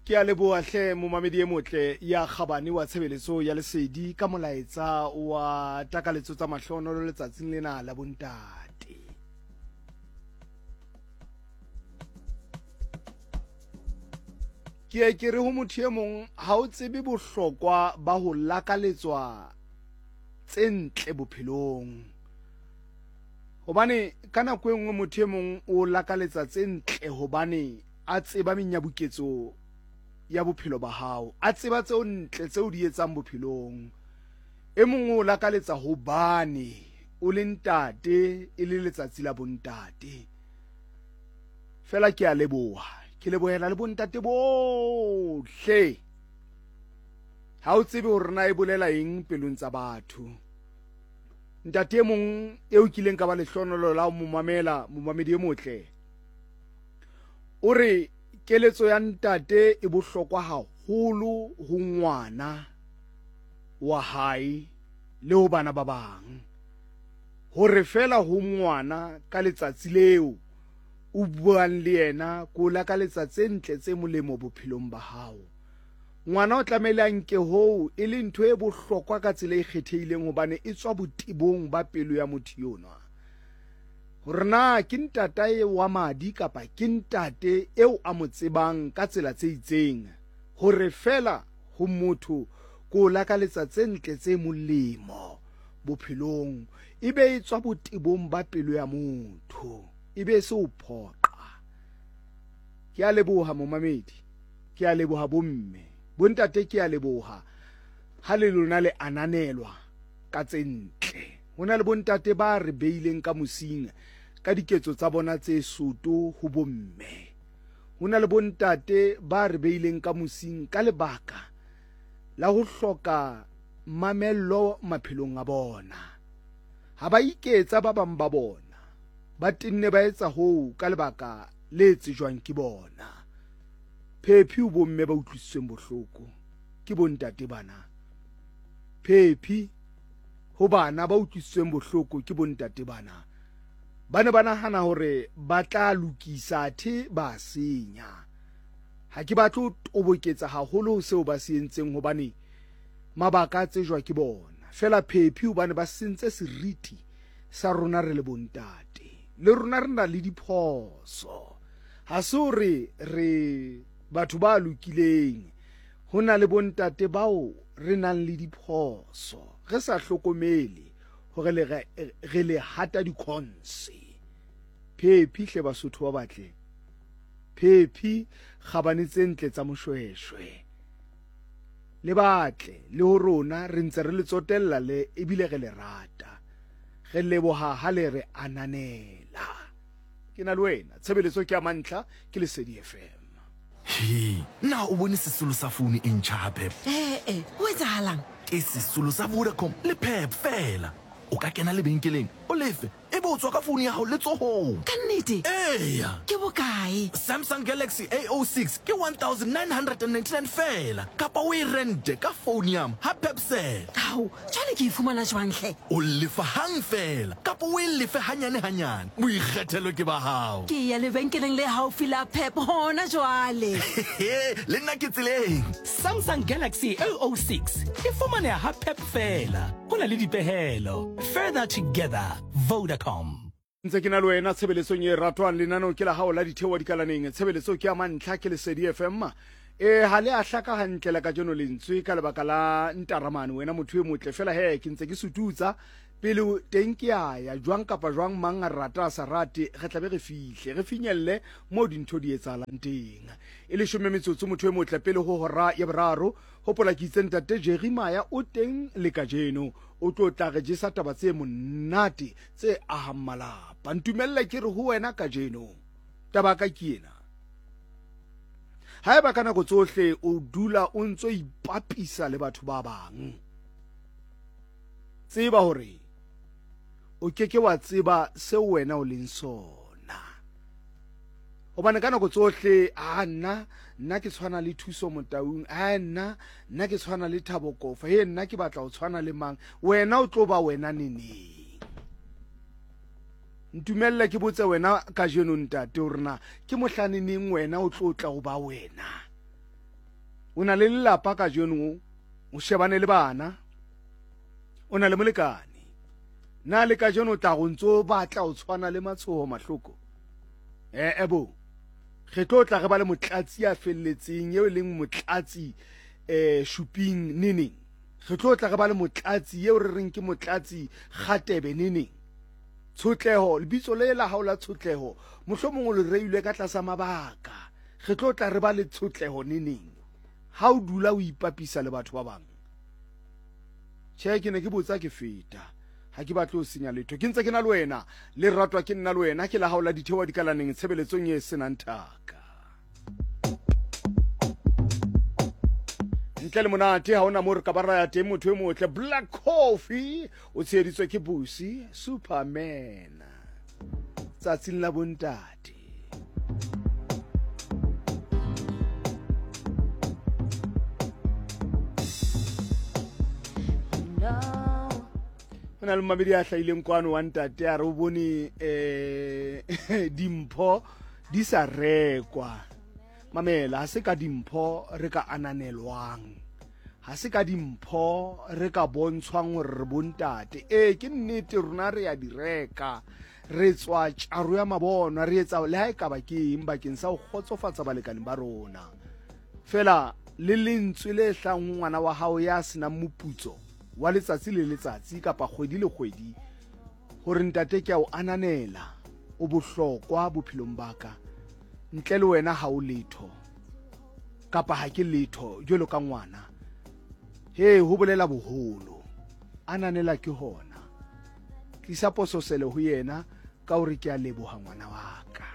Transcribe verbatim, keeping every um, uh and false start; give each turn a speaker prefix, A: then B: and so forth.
A: Ke a leboha hle momamedi e motle ya kgabane wa tshebeletso ya Lesedi ka molaetsa wa takaletso tsa mahlonolo letsatsing lena la bontate. Ke ye ke re ho motho e mong ha o tsebe bohlokwa ba ho lakaletswa tse ntle bophelong. Hobane ka nako e nngwe motho e mong o lakaletsa tse ntle hobane a tseba menyabuketso ya bophelo ba hao, a tseba tseo ntle tseo di etsang bophelong. E mong o lakaletsa hobane o le ntate, e le letsatsi la bontate. Fela ke a leboha, ke lebohela le bontate bohle. Ha o tsebe hore na e bolela eng pelong tsa batho. Ntate e mong eo kileng ka ba lehlonolo la ho mo mamela, momamedi e motle, o re keletso ya ntate e bohlokwa haholo ho ngwana wa hae le ho bana ba bang. Hore fela ho ngwana ka letsatsi leo o buang le yena ko lakaletsa tse ntle tse molemo bophelong ba hao. Ngwana o tlamehile a nke hoo e le ntho e bohlokwa ka tsela e kgethehileng hobane e tswa botebong ba pelo ya motho yonwa. Hore na ke ntatae wa madi kapa ke ntate eo a mo tsebang ka tsela tse itseng, hore fela ho motho ko lakaletsa tse ntle tse molemo bophelong, e be e tswa botebong ba pelo ya motho, e be se o phoqa. Ke a leboha momamedi, ke a leboha bomme, bontate ke a leboha ha le lona le ananelwa ka tse ntle. Ho na le bontate ba re beileng ka mosing ka diketso tsa bona tse soto ho bomme. Ho na le bontate ba re beileng ka mosing ka lebaka la ho hloka mamello maphelong a bona. Ha ba iketsa ba bang ba bona, ba tenne ba etsa hoo ka lebaka le tsejwang ke bona. Phephi ho bomme ba utlwisitsweng bohloko ke bontate bana. Phephi ho bana ba utlwisitsweng bohloko ke bontate bana. Ba ne ba nahana hore ba tla lokisa athe ba senya. Ha ke batle ho toboketsa haholo ho seo ba se entseng hobane mabaka a tsejwa ke bona. Fela phephi hobane ba sentse seriti sa rona re le bontate. Le rona re na le diphoso. Ha se hore re batho ba lokileng. Ho na le bontate bao re nang le diphoso. Re sa hlokomele hore le re, re le hata dikhonse. Phephi hle Basotho ba batle. Phephi kgabane tse ntle tsa Moshweshwe. Le batle le ho rona re ntse re le tsotella le ebile re le rata. Re leboha ha le re ananela. Ke na le wena, tshebeletso ke ya mantlha, ke Lesedi F M.
B: He, na o bone sesolo sa founu e ntjha ha Pep?
C: Eh eh, ho etsahalang?
B: Ke sesolo sa Vodacom le Pep fela. O ka kena lebenkeleng, o lefe, e be o tswa ka founu ya hao letsohong.
C: Ka nnete?
B: Eya.
C: Ke bokae?
B: Samsung Galaxy A oh six ke one thousand nine hundred and ninety-nine fela, kapa o e rente ka phone ya ha Pepsel.
C: Ao, jwale ke e fumana jwang hle?
B: O lefa hang fela, kapa o e lefe hanyane hanyane. Boikgethelo ke ba hao.
C: Ke ya lebenkeleng le haufi la Pep hona jwale.
B: Le nna ke tseleng.
D: Samsung Galaxy A oh six e fumaneha ha Pep fela. Ho na le dipehelo. Further together, Vodacom.
A: Ntse ke na le wena tshebeletsong e ratwang lenaneo ke la hao la Ditheoha Dikalaneng. Tshebeletso ke ya mantlha ke Lesedi F M. E ha le a hlaka hantle la kajeno lentswe ka lebaka la ntaramane wena motho e motle. Fela he ke ntse ke sututsa pele teng ke a ya jwang kapa jwang mang a rata a sa rate, re tla be re fihle re finyelle mo dintho di etsahalang teng. E leshome metsotso motho e motle pele ho hora ya boraro. Hopola ke itse ntate Jeremiah o teng le kajeno, o tlo tla re jesa taba tse monate tse ahang malapa. Ntumelle ke re ho wena kajeno, taba ka ke ena. Haeba ka nako tsohle o dula o ntso ipapisa le batho ba bang, tseba hore o ke ke wa tseba seo wena o leng sona. Hobane ka nako tsohle, a nna, nna ke tshwana le Thuso Motaung, a nna, nna ke tshwana le Thabo Kofa, he nna ke batla ho tshwana le mang, wena o tlo ba wena neneng? Ntumelle ke botse wena kajeno ntate hore na ke mohlaneneng wena o tlo tla ho ba wena. O na le lelapa kajeno, o shebane le bana, o na le molekane. Na le kajeno o tla go ntso batla o tshwana le Matshoho Mahloko? Eh ebo. Re tlo tla re ba le motlatsi a felletseng eo e leng motlatsi eh Shuping neneng. Re tlo tla re ba le motlatsi eo re reng ke motlatsi Kgatebe neneng. Tshotleho, lebitso le la hao la tshotleho, mohlomong o le reilwe ka tlasa mabaka. Re tlo tla re ba le tshotleho neneng. Ha o dula o ipapisa le batho ba bang. Tjhe, ke ne ke botsa ke feta. Ha ke batle ho senya letho. Ke ntse ke na le wena, le ratwa ke nna le wena, ke la hao la dithewa dikalaneng tshebeletsong e senang thaka. Ntle le monate ha ona mo re ka ba ra ya teng motho e motle. Black Coffee o tsheheditswe ke Busi Superman. Tsatsing la bontate. Ho na le mamedi a hlahileng kwano wa ntate a re o bone eh dimpho di sa rekwa. Mamela, ha se ka dimpho re ka ananelwang, ha se ka dimpho re ka bontshwang hore re bontate. Ee, ke nnete rona re ya di reka, re tswa tjaro ya mabonwa, re etsa le ha e ka ba ke eng bakeng sa ho kgotsofatsa balekane ba rona. Fela le lentswe le hlang ho ngwana wa hao ya senang moputso wa letsatsi le letsatsi kapa kgwedi le kgwedi, hore ntate ke a o ananela, o bohlokwa bophelong ba ka, ntle le wena ha o letho kapa ha ke letho jwalo ka ngwana. He, ho bolela boholo. Ananela ke hona. Tlisa pososelo ho yena ka hore ke a leboha ngwana wa ka.